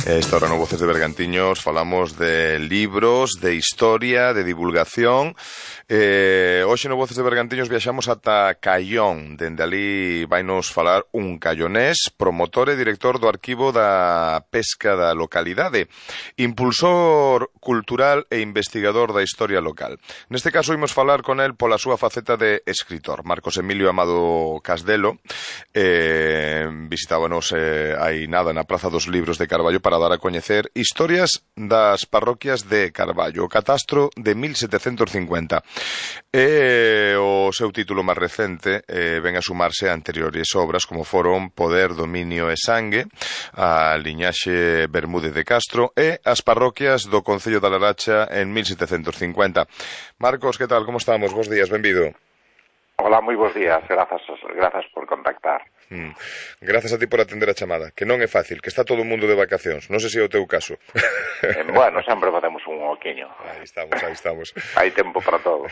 Esta hora no Voces de Bergantiños falamos de libros, de historia, de divulgación. Hoxe no Voces de Bergantiños viaxamos ata Caión. Dende ali vainos falar un caiónés, promotor e director do arquivo da pesca da localidade, impulsor cultural e investigador da historia local. Neste caso imos falar con el pola súa faceta de escritor. Marcos Emilio Amado Casdelo visitábanos hai nada na Praza dos Libros de Carballo para dar a coñecer historias das parroquias de Carballo, o catastro de 1750. E o seu título máis recente ven a sumarse a anteriores obras como foron Poder, Dominio e Sangue, a liñaxe Bermúdez de Castro e as parroquias do Concello da Laracha en 1750. Marcos, que tal? Como estamos? Bos días, benvido. Hola, moi bons días, grazas por contactar. Grazas a ti por atender a chamada, que non é fácil, que está todo o mundo de vacacións, non sei se é o teu caso. Bueno, sempre podemos un oquiño. Aí estamos. Hai tempo para todo.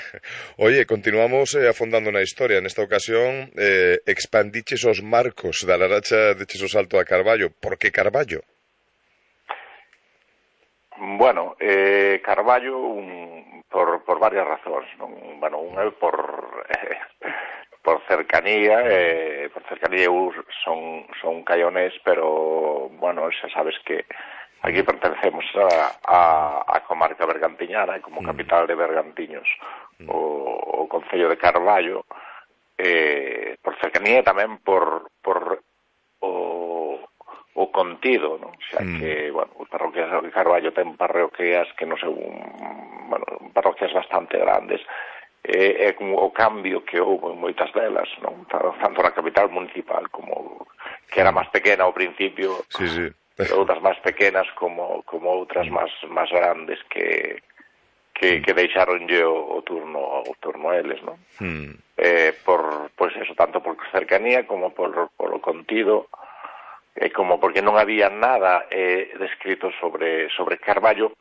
Oye, continuamos afondando na historia, nesta ocasión expandiches os marcos da Laracha, deches o salto a Carballo. Por que Carballo? Bueno, Carballo por varias razóns, non? Bueno, un é por cercanía, eu son caiónés, pero, bueno, xa sabes que aquí pertencemos a comarca bergantiñana, e como capital de Bergantiños, o Concello de Carballo, por cercanía e tamén por o contido, non? Xa que, bueno, os parroquias de Carballo ten parroquias que non sei, bueno, parroquias bastante grandes. É como o cambio que houve en moitas delas, non? Tanto na capital municipal como que era máis pequena ao principio, sí. Outras máis pequenas como outras máis grandes que deixaronlle o turno a eles, non? Pois eso, tanto por cercanía como polo contido, como porque non había nada descrito sobre Carballo,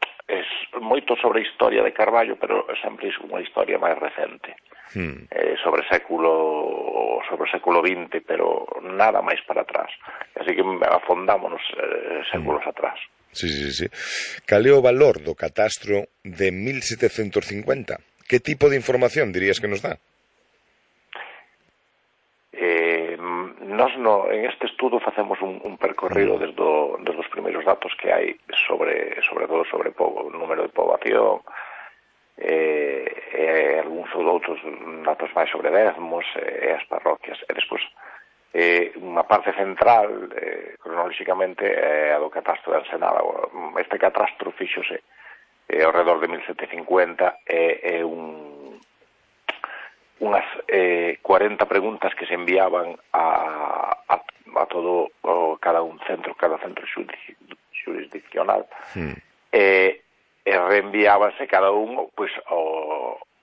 moito sobre a historia de Carballo, pero sempre é unha historia máis recente, sobre o século XX, pero nada máis para atrás, así que afondámonos séculos atrás. Sí. Cal é o valor do catastro de 1750? Que tipo de información dirías que nos dá? Nós en este estudo facemos un percorrido desde os primeiros datos que hai sobre todo sobre o número de poboación, algúns outros datos máis sobre dezmos e as parroquias, e despois unha parte central cronolóxicamente é a do catastro de Ensenada. Este catastro fíxose ao redor de 1750, é unhas 40 preguntas que se enviaban a todo cada centro jurisdiccional, e reenviábase cada un pois ao